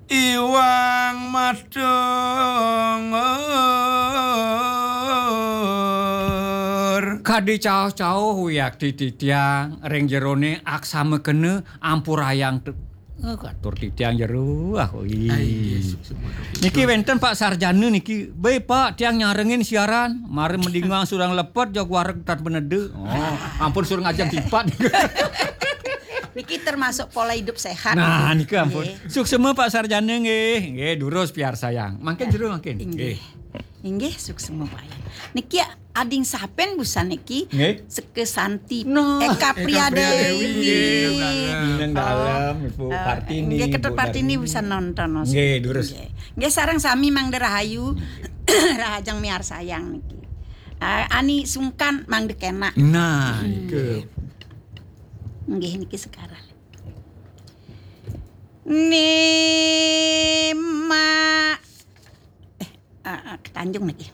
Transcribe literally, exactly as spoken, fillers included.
Iwang Madungor. Kadi caoh-caoh wiakti titiang ring jerone aksama kena ampurayang tu. Eh, katur titiang jero, ah, oi. Ai, nggih, suksma. Niki wenten Pak Sarjana niki. "Baik, Pak, tiang nyarengin siaran, mara madingang surang lepet, jog wareg tan peneda." Oh, ampun, suruh ngajak tipat. Niki termasuk pola hidup sehat. Nah, niki ampun. Nggih. Suksma Pak Sarjana nggih. Nggih, durus piarsayang. Mangkin jero mangkin. Inggih. Nggih. Inggih, suksma Pak Yan. Niki ading sapen busan niki? Nggih. Seka Santi. Nah. Eka Priadewi. Eka Priadewi, nggih, Minang Dalem, Ibu Kartini, nggih, Ketut Ibu Kartini Darmini. Busan nonton, Mas. Nggih, durus. Nggih. Nggih, sareng sami Mangda Rahayu. Rahajeng miarsayang niki. Ah, ani sungkan Mangda Kenak. Nah, nggih. Nggih, niki sekarang. Nima. Eh, ah, ah, ketanjung niki.